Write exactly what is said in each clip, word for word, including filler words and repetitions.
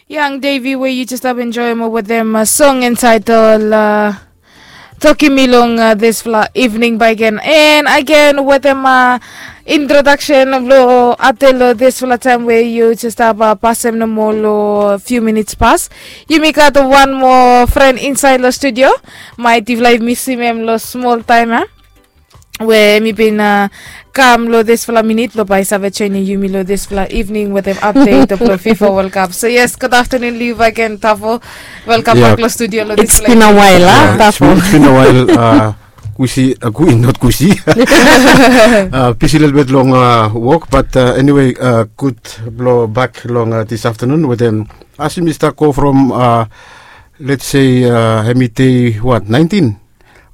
Yang Davy we yu jes stap enjoem wetem song entitled Toki Mi long disfala evening bae gen. And again wetem introduction blong update long disfala taem we yu jes stap pasem nomo long few minutes pas. Yumi gat wan moa fren insaed long studio. Maet yufala i misim hem long smol taem ya, we hemi bin kam long disfala minit blong bae i save joenem yumi long disfala evening wetem update blong fifa World Cup. So yes, gud aftenun long yu bakegen Tafo. Welkam bak long studio long disfala evening. It's been a while. Kusi, not kusi. Bisi lelebet long wok, bat eniwe, gud blong bak long dis aftenun wetem, as yumi stap go from, let's say, hemi dei wat, naentin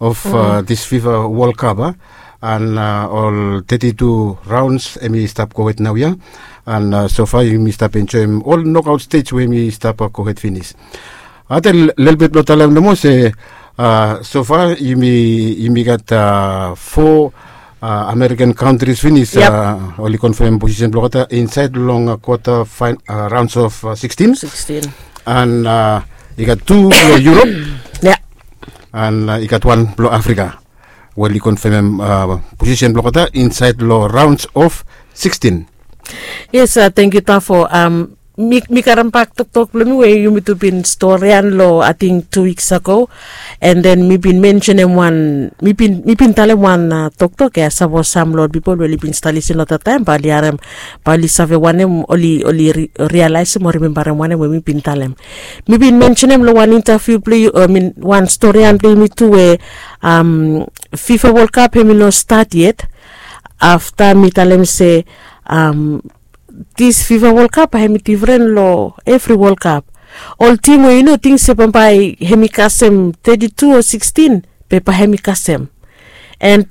of dis fifa World Cup, a, an ol teti tu raons hemi stap gohed naoia. An sofa yumi stap enjoem ol nokaot stej we hemi stap gohed finis. Ate lelebet blong talem nomo se, sofa yumi gat fo American countries finis oli konfem posisen blong olgeta insaed long kwata, raons of sikstin. An i gat tu long Europe. An i gat wan blong Afrika we oli konfemem posisen blong olgeta insaed long raons of sikstin. Yes, tangkiu Tafo. Mi karem bak toktok blong mi we yumi tu bin storian long ating tu wiks ago. An den mi bin mensenem wan, mi bin talem wan toktok ya sapos sam long ol pipol we oli bin stap lisin long dat taem bae oli harem, bae oli save wanem, oli oli rialaesem o rimembarem wanem we mi bin talem. Mi bin mensenem long wan intaviu blong yu, i min wan storian blong yumi tu we fifa World Cup hemi no stat yet. Afta mi talem se dis fifa World Cup hemi difren long evri World Cup. Ol tim we yu no ting se bambae hemi kasem teti tu o sikstin, be bae hemi kasem. An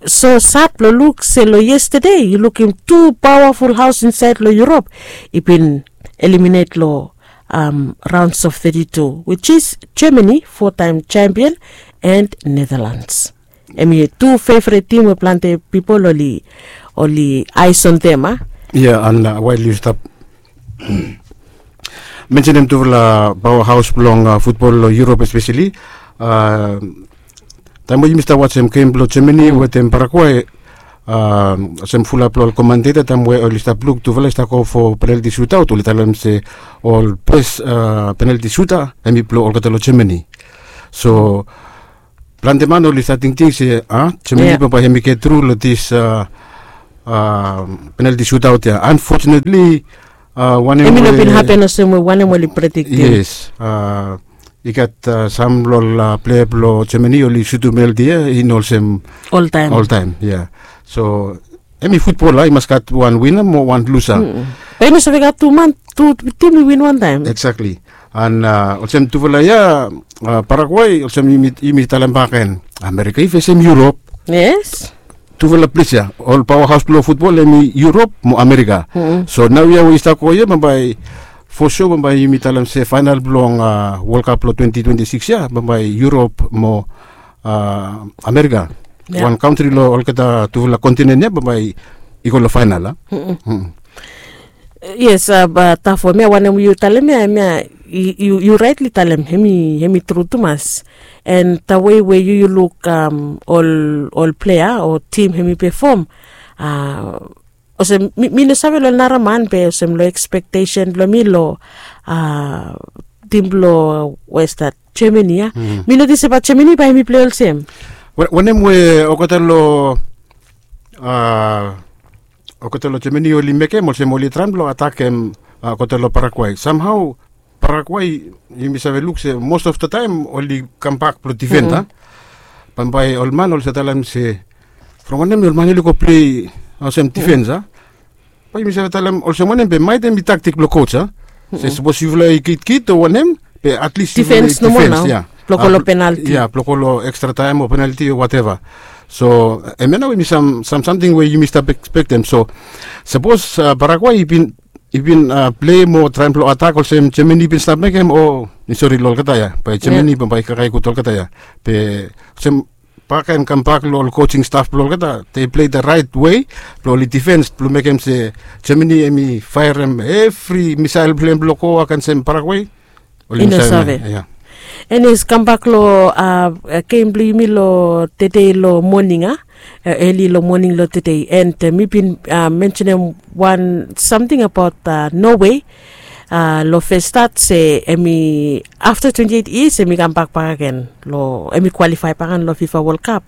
so sad blong luk se long yestade yu lukim tu pawaful haos insaed long Europe i bin eliminate long raons of teti tu, which is Germany, four time champion, and Netherlands. Hemi tu fevret tim we plante pipol oli, oli aes on dem, a. Ia, an wael yu stap mensenem tufala paoa haos blong futbol long Europe espeseli, taem we yumi stap wajem gem blong Germany wetem Paraguay, olsem fulap long ol komanteita taem we oli stap luk tufala i stap go fo penalti sutaot, oli talem se ol bes penalti suta hemi blong olgeta long Germany. So plante man oli stat tingting se a, Germany bambae hemi get tru long dis penalti sutaot ya. Unfortunately, wanem we hemi no bin hapen olsem we wanem we oli prediktem. Yes. I gat sam long ol plea blong Germany oli sutum penalti ya i no olsem oltaem. Oltaem, ia. So hemi futbol, a, i mas gat wan wina mo wan lusa. Bae i no save gat tu man, tu tim i win wantaem. Exactly. An olsem tufala ya, Paraguay, olsem yumi talem bakegen, Amerika i fesem Europe. Yes. Tufala ples ya, ol paoa haos blong futbol hemi Europe mo Amerika. So naoia we i stap go ya bambae for sure bambae yumi talem se faenal blong World Cup blong twenty twenty six ya bambae Europe mo Amerika. Wan kantri long olgeta tufala kontinen ya bambae i go long faenal, a. Yes, Tafo, hemia wanem yu talem ya, hemia yu raetli talem, hemi tru tumas. An the way we yu yu luk ol, ol plea o tim hemi pefom, olsem mi no save long nara man be olsem long ekspektesen blong mi long tim blong we stat Germany ya. Mi notis se bae Germany bae hemi plei olsem. Wanem we olgeta long, olgeta long Germany oli mekem olsem oli traem blong atakem olgeta long Paraguay. Samhao Paraguay, yumi save luk se most of the taem oli kambak blong difen, a. Bambae ol man oli save talem se from wanem ol man oli go plei olsem difens, a. Bae yumi save talem olsem wanem be maet hemi taktik blong coach, a. Se sapos yufala i kitkit o wanem, be at least yufala i difens nomo difens nao, ia. Blong go long penalti. Ia, blong go long ekstra taem o penalti o whatever. So hemia nao hemi sam, sam samting we yumi stap ekspektem. So sapos Paraguay i bin i bin plei mo traem blong atak olsem Germany i bin stap mekem, o sori, long olgeta ya, bae Germany bambae i kakae gud olgeta ya. Be olsem Bak and kambak long ol coaching staff blong olgeta, they play the right way blong oli defense blong mekem se Germany em i faerem evri missile blong hem blong go against em Paraguay. Oli no save. Yeah. Anyways, kambak long game blong yumi long tedei long moning a, eli long moning long tedei, and mi bin mentionem wan samting abaot Norway long fes stat se em i afta twenty eight years em i kambak bak agen long em i kwalifai bak agen long FIFA World Cup.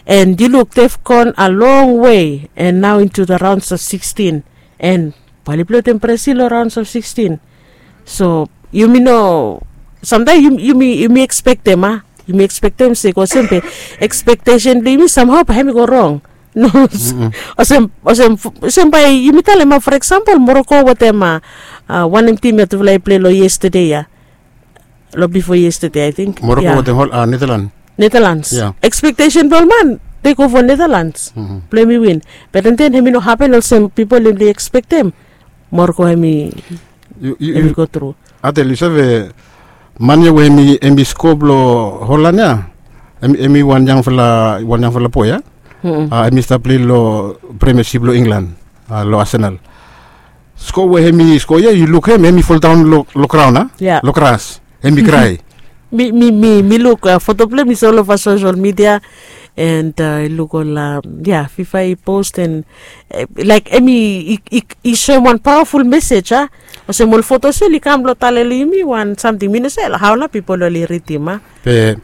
And yu luk they've gone a long way and now into the rounds of sixteen, and bae oli plei wetem Brazil long rounds of sixteen. So yumi no, samtaem yumi yumi ekspektem a, yumi ekspektem se go olsem be expectation blong yumi samhao bae hem i go rong. No, olsem olsem olsem bae yumi talem a, for example, Morocco wetem a wanem tim ya tufala i plei long yestede ya, long bifo yestede, I think. Morocco wetem Netherlands. Netherlands. Expectation blong ol man, they go for Netherlands blong hem i win. Be den den hem i no hapen olsem pipol hem i ekspektem. Morocco hem i go tru. Adel, yu save man ya we hem i sko blong Holland ya, hem i wan yangfala wan yangfala boe ya. Hem i stap plei long premiership blong England long Arsenal. Sko we hem i sko ya, yu luk hem hem i foldaon long graon a, long gras, hem i krae. Mi mi mi mi luk foto blong hem i so olova social media, and i luk ol ya FIFA i post, and laik hem i soem wan paoaful mesej a. Olsem ol foto so oli kam blong talem long yumi wan samting, mi no save hao nao pipol oli ridim a. Be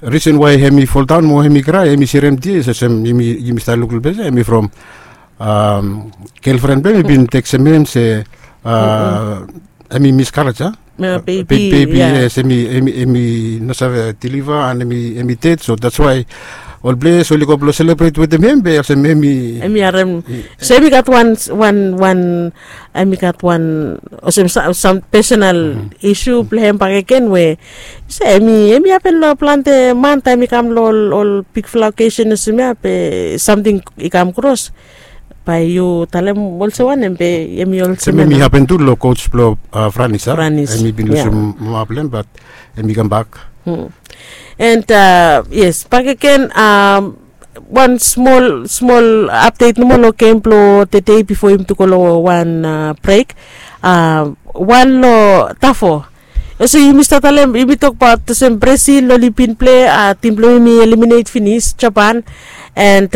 risen wae hem i foldaon mo hem i krae, hem i serem tias olsem yumi stap luk long ples ya, hem i from gelfren blong hem i bin tekstem hem se hem i miskaraej a. Bebi, yes, hem i no save deliva and hem i ded, so that's wae ol ples oli go blong selebret wetem hem, be olsem hem i harem. So hem i gat wan wan wan hem i gat wan olsem sam personal isu blong hem bakegen we se hem i hapen long plante man taem i kam long ol bigfala okesen olsem ya, be samting i kam kros. Bae yu talem olsem wanem be hem i olsem hem i hapen tu long coach blong Franis a. Hem i bin lusum mama blong hem, bat hem i kambak. And yes, bakegen wan smol smol apdet nomo long gem blong tedei bifo yumi tu go long wan brek. Wan long tafo. Olsem yumi stap talem, yumi tokbaot olsem Brazil oli bin plei, tim blong yumi i eliminet finis Japan. And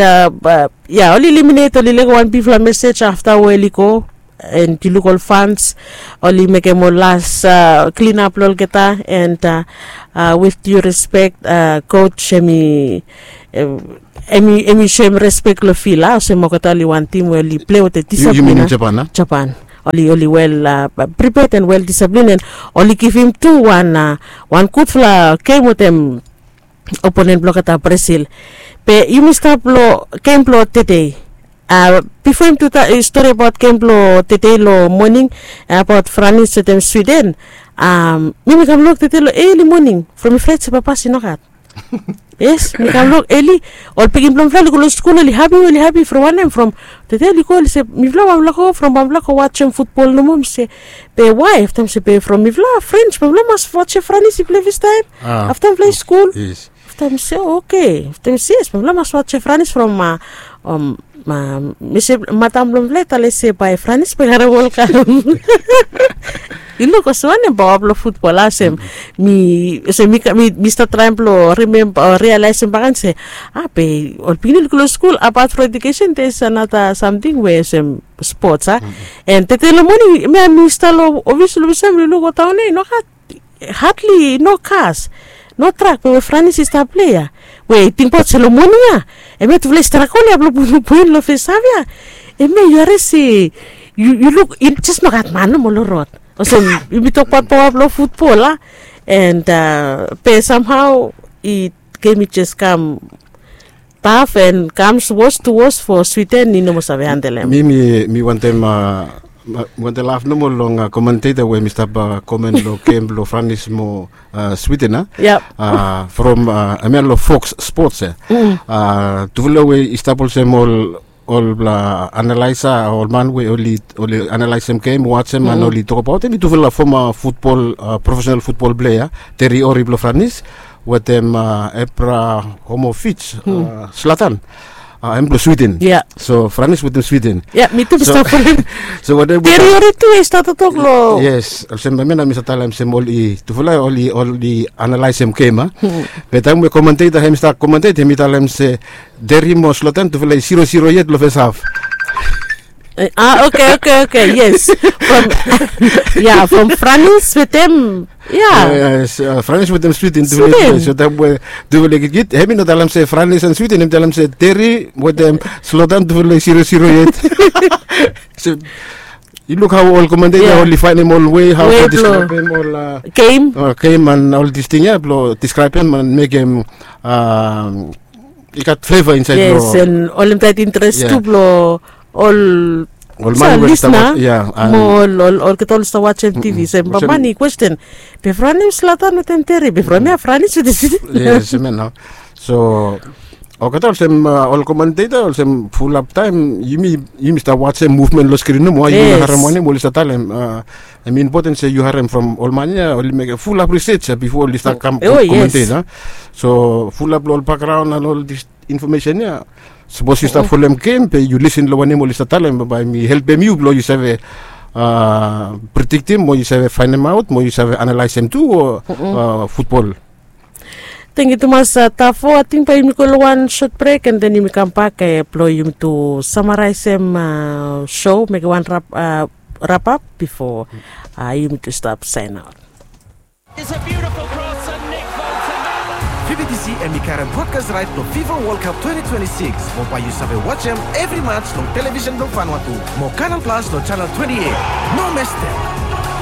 ya, oli eliminet, oli lego wan bigfala mesej afta we oli go. And yu luk ol fans oli mekem ol las klinap long olgeta, and with due respect, coach hem i hem i soem respek long fil a, olsem olgeta oli wan tim we oli plei wetem disaplin. Japan. Oli oli wel priped and wel disaplin, and oli givim tu wan wan gudfala gem wetem oponen blong olgeta Brazil. Be yumi stap long gem blong tedei. Bifo yumi tu stori abaot gem blong tedei long moning, abaot Franis wetem Swiden, mi mi kam luk tedei long eli moning from mi fraet se bambae i nogat. Yes, mi kam luk eli. Ol pikinini blong mifala oli go long skul, oli hapi, oli hapi from wanem, from tedei oli go, oli se mifala bambae mifala go from bambae mifala go wajem futbol nomo. Mi se be wae? Afta mi se be from mifala frens bambae mifala mas wajem Franis i plei fastaem afta mifala i skul. Afta mi se oke. Afta mi se yes, bambae mifala mas wajem Franis from mi se matam blong mifala i talem se bae Franis bae i karem World Cup. Yu luk olsem wanem paoa blong futbol a, olsem mi olsem mi stap traem blong rimemba o rialaesem bakegen se a be ol pikinini oli go long skul, apat from ejukesen there is another samting we olsem spots a. And tede long moning mi a mi stap long ofis long olsem mi luk oltaon ya i nogat, hadli no kas, no trak, be we Franis i stap plei ya. We tingbaot se long moning ya hemia tufala i stragol ya blong putum poen long fes haf ya. Hemia yu harim se yu yu luk i jes nogat man nomo long rod. Olsem yumi tokbaot paoa blong futbol a. And be samhao i gem i jes kam taf and comes worse to worse for Sweden, i no moa save handle em. Mi mi mi wantem a mi wantem laf nomo long komenteta we mi stap komen long gem blong Franis mo Sweden a. From hemia long Fox Sports e. Tufala we i stap olsem ol ol analaesa, ol man we oli oli analaesem gem, wajem and oli tokbaot hem i tufala foma futbol, profesenal futbol plea, Thierry Henry blong Franis, wetem Ebrahomovich, Slatan, em blong Sweden. So Franis wetem Sweden. Ya, mi tu mi stap folem. So wanem we Teri oli tu i stap toktok long. Yes, olsem hemia nao mi stap talem olsem oli tufala oli oli analaesem gem a. Be taem we komentator hem i stap komentet hem i talem se Teri mo Slatan tufala i zero zero yet long fes haf. Ah, okay, okay, okay, yes. From, yeah, from Franis wetem, yeah. Yes, Franis wetem Sweden. Sweden. So taem we tufala i gitgit hem i no talem se Franis and Sweden, hem i talem se Teri wetem Slatan tufala i zero zero yet. So yu luk hao ol komentator oli faenem ol wei hao to deskraebem ol gem, gem and ol dis ting ya blong deskraebem and mekem i gat fleva insaed. Yes, long and olem taet interes tu blong ol ol man we oli stap lisna. Mo ol olgeta oli stap wajem T V. So bamani kwesten, be Franis wetem Slatan wetem Teri, be from ya Franis wetem Sweden. Yes, hemia nao. So olgeta olsem ol komenteta olsem fulap taem yumi yumi stap wajem muvmen long skrin nomo, yumi no harem wanem oli stap talem. Hem i impoten se yu harem from ol man ya oli mekem fulap risej ya bifo oli stap kam komenteta. So fulap long ol bakgraon and ol dis infomesen ya, sapos yu stap folem gem be yu lisin long wanem oli stap talem, bae hem i helpem yu blong yu save prediktim mo yu save faenemaot mo yu save analaesem tu futbol. Tangkiu tumas Tafo. Ating bae yumi go long wan sot brek and then yumi kambak blong yumi tu samaraesem sou, mekem wan rapap bifo yumi tu stap saenaot. It's a beautiful cross and Nick Bolton. Fifa D C hem i karem brodkas raet blong Fifa World Cup twenty twenty-six. Mo bae yu save wajem evri mats long televisen blong Vanuatu mo Canal Plus long chanel twenty-eight. No mestem.